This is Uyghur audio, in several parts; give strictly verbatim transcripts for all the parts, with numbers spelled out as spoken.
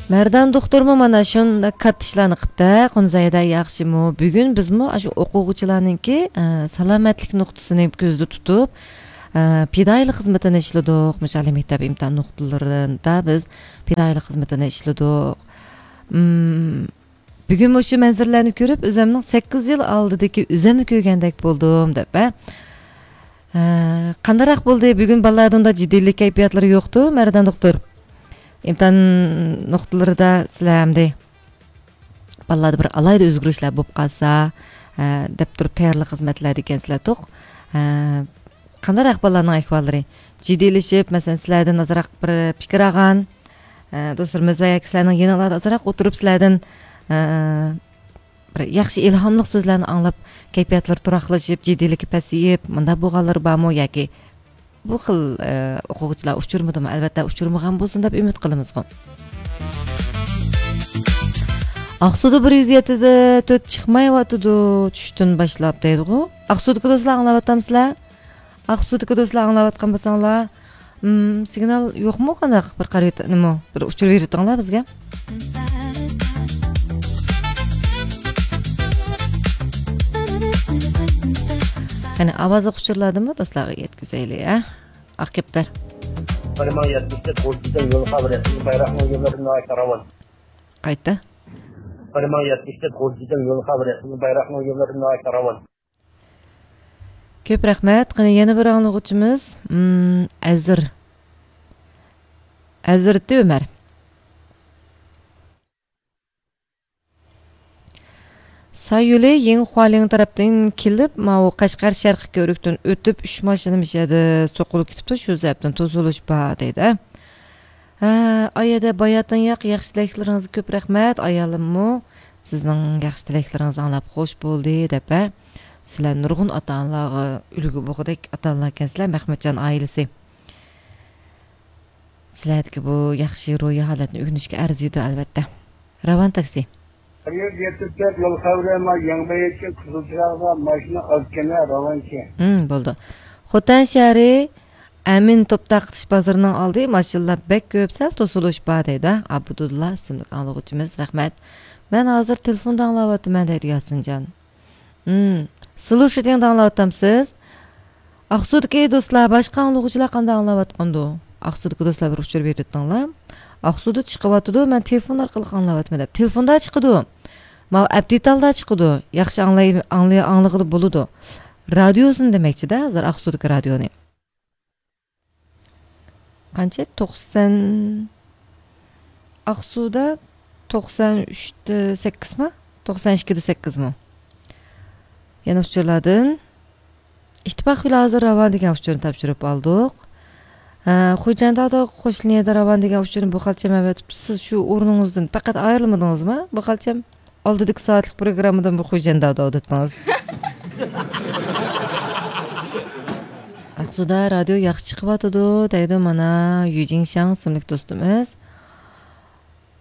مەردان دوختۇرمۇ مانا شۇنداق كاتتا ئىشلارنى قىپتە، قۇنزەيدە ياخشىمۇ؟ بۈگۈن بىزمۇ ئاشۇ ئوقۇغۇچىلارنىڭكى، ئە، سالامەتلىك نۇقتىسىنى كۆزدە تۇتۇپ، ئە، پىدائىيلىق خىزمىتىنى ئىشلىدۇق. مۇشۇ ئالىي مەكتەپ ئىمتىھان نۇقتىلىرىدا بىز پىدائىيلىق خىزمىتىنى ئىشلىدۇق. ئىم، بۈگۈن مۇشۇ مەنزىرىلەرنى كۆرۈپ، ئۆزۈمنىڭ سەككىز يىل ئالدىدىكى ئۆزۈمنى كۆرگەندەك بولدۇم، دەپ، ھە؟ ھە، قانداقراق بولدى؟ بۈگۈن بالىلاردا ئۇنداق جىددىيلىك كەيپىياتلىرى يوقتۇ، مەردان دوختۇر؟ ئىمتىھان نۇقتىلىرىدا سىلەر ئەمدى بالىلاردا بىر ئالاھىدە ئۆزگىرىشلەر بولۇپ قالسا، ھە، دەپ تۇرۇپ تەييارلىق خىزمەتلەردە ئىكەنسىلەر توق. ھە، قانداقراق بالىلارنىڭ ئەھۋاللىرى؟ جىددىيلىشىپ، مەسىلەن، سىلەردىن ئازراق بىر پىكىر ئالغان، ئە، دوستلىرىمىز ۋە ياكى سىلەرنىڭ يېنىڭلاردا ئازراق ئولتۇرۇپ، سىلەردىن، ئە، بىر ياخشى ئىلھاملىق سۆزلەرنى ئاڭلاپ، كەيپىياتلىرى تۇراقلىشىپ، جىددىيلىكى پەسىيىپ، مۇنداق بولغانلىرى بارمۇ ياكى بۇ خىل، ئە، ئوقۇغۇچىلار ئۇچرىمىدىمۇ؟ ئەلۋەتتە، ئۇچرىمىغان بولسۇن دەپ ئۈمىد قىلىمىزغۇ. ئاقسۇدا بىر يۈز يەتتە تۆت چىقمايۋاتىدۇ، چۈشتىن باشلاپ دەيدىغۇ. ئاقسۇدىكى دوستلار ئاڭلاۋاتامسىلەر؟ ئاقسۇدىكى دوستلار ئاڭلاۋاتقان بولساڭلار، ئىم، سىگنال يوقمۇ قانداق؟ بىر قارىۋېت-، نېمە، بىر ئۇچۇر بېرىۋېتىڭلار بىزگە. قېنى، ئاۋازلىق ئۇچۇرلاردىمۇ دوستلارغا يەتكۈزەيلى، ھە؟ ئاق كەپتەر. بىر مىڭ يەتمىش تۆت غۇلجىدىن يول خەۋىرى، بايراقنىڭ يوللىرى ناھايىتى راۋان. قايتا. بىر مىڭ يەتمىش تۆت غۇلجىدىن يول خەۋىرى، بايراقنىڭ يوللىرى ناھايىتى راۋان. كۆپ رەھمەت. قېنى يەنە بىر ئاڭلىغۇچىمىز، ئىم، ئەزىر. ئەزىرتى ئۆمەر. سايولى يېڭى خۇالىڭ تەرەپتىن كېلىپ، ماۋۇ قەشقەر شەرقىي كۆۋرۈكتىن ئۆتۈپ، ئۈچ ماشىنا مۇشۇ يەردە سوقۇلۇپ كېتىپتۇ، شۇ سەۋەبتىن توسۇلۇش بار دەيدۇ. ھە، ئايەدە باياتىن ياق ياخشى تىلەكلىرىڭىزگە كۆپ رەھمەت. ئايالىممۇ سىزنىڭ ياخشى تىلەكلىرىڭىزنى ئاڭلاپ خوش بولدى دەپ، ھە، سىلەر نۇرغۇن ئاتا-ئانىلارغا ئۈلگە بولغۇدەك ئاتا-ئانىلار ئىكەنسىلەر، مەھمۇتجان ئائىلىسى. سىلەردىكى بۇ ياخشى روھىي ھالەتنى ئۆگىنىشكە ئەرزىيدۇ، ئەلۋەتتە. راۋان تاكسى. بىر يۈز يەتتە تۆت يول خەۋىرى، ما يېڭى مەيدانچە قىزىل چىراغدا ماشىنا ئازكەنە راۋانچى. ھىم، بولدى. خوتەن شەھىرى ئەمىن توپ تارقىتىش بازىرىنىڭ ئالدى، ماشىنىلار بەك كۆپ، سەل توسۇلۇش بار دەيدۇ. ئابدۇللا ئىسىملىك ئاڭلىغۇچىمىز، رەھمەت. مەن ھازىر تېلېفوندا ئاڭلاۋاتىمەن دەيدۇ ياسىنجان. ھىم. سلۇشىتىڭدا ئاڭلاۋاتامسىز؟ ئاقسۇدىكى دوستلار، باشقا ئاڭلىغۇچىلار قانداق ئاڭلاۋاتقاندۇ؟ ئاقسۇدىكى دوستلار بىر ئۇچۇر بېرىۋېتىڭلار. ئاقسۇدا چىقىۋاتىدۇ، مەن تېلېفون ئارقىلىق ئاڭلاۋاتىمەن دەپ. تېلېفوندا چىقىدۇ. ماۋۇ ئەپتىتالدا چىقىدۇ. ياخشى ئاڭلاي-، ئاڭلىي-، ئاڭلىغىلى بولىدۇ. رادىيوسىنى دېمەكچىدە، ھازىر ئاقسۇدىكى رادىيونى. قانچە؟ توقسان، ئاقسۇدا توقسان ئۈچتە سەككىزمۇ؟ توقسان ئىككىدە سەككىزمۇ؟ يەنە ئۇچۇرلاردىن. ئىتتىپاق يولى ھازىر راۋان دېگەن ئۇچۇرنى تاپشۇرۇپ ئالدۇق. ھە، خوجاندادا قوش لىنىيەدە راۋان دېگەن ئۇچۇرنى بۇ خالچەم ئەۋەتىپتۇ. سىز شۇ ئورنىڭىزدىن پەقەت ئايرىلمىدىڭىزمۇ؟ بۇ خالچەم ئالدىدىكى سائەتلىك پروگراممىدىمۇ خوجاندادا ئاۋۇتتىڭىز. ئاقسۇدا رادىيو ياخشى چىقىۋاتىدۇ، دەيدۇ مانا يۈجىڭشاڭ ئىسىملىك دوستىمىز.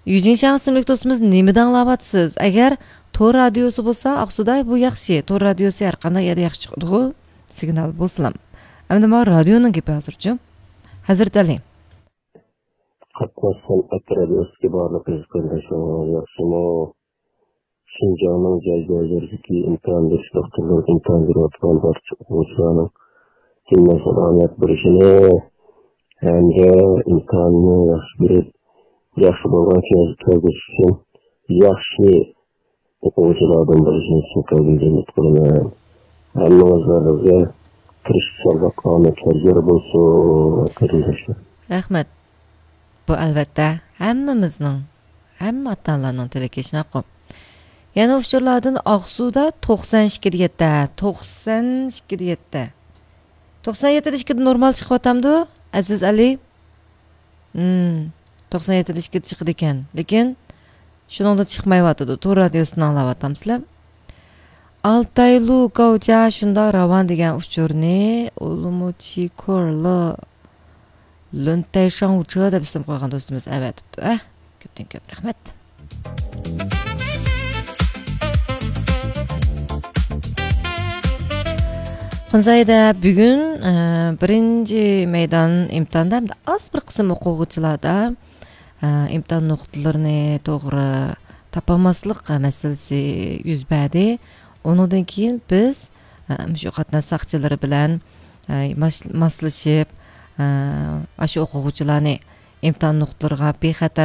يۈجىڭشاڭ ئىسىملىك دوستىمىز، نېمىدە ئاڭلاۋاتىسىز؟ ئەگەر تور رادىيوسى بولسا، ئاقسۇدا بۇ ياخشى. تور رادىيوسى ھەر قانداق يەردە ياخشى چىقىدىغۇ، سىگنال بولسىلام. ئەمدى مانا رادىيونىڭ گېپى ھازىرچۇ. ھەزرىتى ئەلى. قاتناش سەنئەت رادىيوسىدىكى بارلىق ئەزىز قېرىنداشلىرىڭلار ياخشىمۇ؟ شىنجاڭنىڭ جاي-جايلىرىدىكى ئىمتىھان بېرىش دوختۇرلىرىدا ئىمتىھان بېرىۋاتقان بارچە ئوقۇغۇچىلارنىڭ ھەممىسىگە ئامەت بېرىشىنى ھەمدە ئىمتىھاننى ياخشى بېرىپ، ياخشى بولغان كەلگۈسى ئۈچۈن ياخشى ئوقۇغۇچىلاردىن بولۇشىنى چىن قەلبىمدىن ئۈمىد قىلىمەن. ھەممىڭىزلەرگە تىرىشچانلىق، ئامەتلەر يار بولسۇن، قېرىنداشلار. رەھمەت. بۇ، ئەلۋەتتە، ھەممىمىزنىڭ، ھەممە ئاتا-ئانىلارنىڭ تىلىكى، شۇنداققۇ؟ يەنە ئۇچۇرلاردىن ئاقسۇدا توقسان ئىككىدە يەتتە، توقسان ئىككىدە يەتتە. توقسان يەتتىدە ئىككىدە نورمال چىقىۋاتامدۇ، ئەزىز ئەلى؟ ھىم، توقسان يەتتىدە ئىككىدە چىقىدىكەن. لېكىن شۇنىڭدىن چىقمايۋاتىدۇ. تور رادىيوسىدىن ئاڭلاۋاتامسىلەر؟ ئالتايلۇ گاۋجا شۇنداق راۋان دېگەن ئۇچۇرنى ئۇلۇمۇچى كورلى لۈنتەي شاڭۋۇچى دەپ ئىسىم قويغان دوستىمىز ئەۋەتىپتۇ. ئە، كۆپتىن كۆپ رەھمەت. قۇنزايدا بۈگۈن، ئە، بىرىنچى مەيدان ئىمتىھاندا ھەمدە ئاز بىر قىسىم ئوقۇغۇچىلاردا ئىمتىھان نۇقتىلىرىنى توغرا تاپالماسلىق مەسىلىسى يۈز بەردى. ئۇنىڭدىن كېيىن بىز، ئە، مۇشۇ قاتناش ساقچىلىرى بىلەن، ئە، ماس-، ماسلىشىپ، ئە، ئاشۇ ئوقۇغۇچىلارنى ئىمتىھان نۇقتىلىرىغا بىخەتەر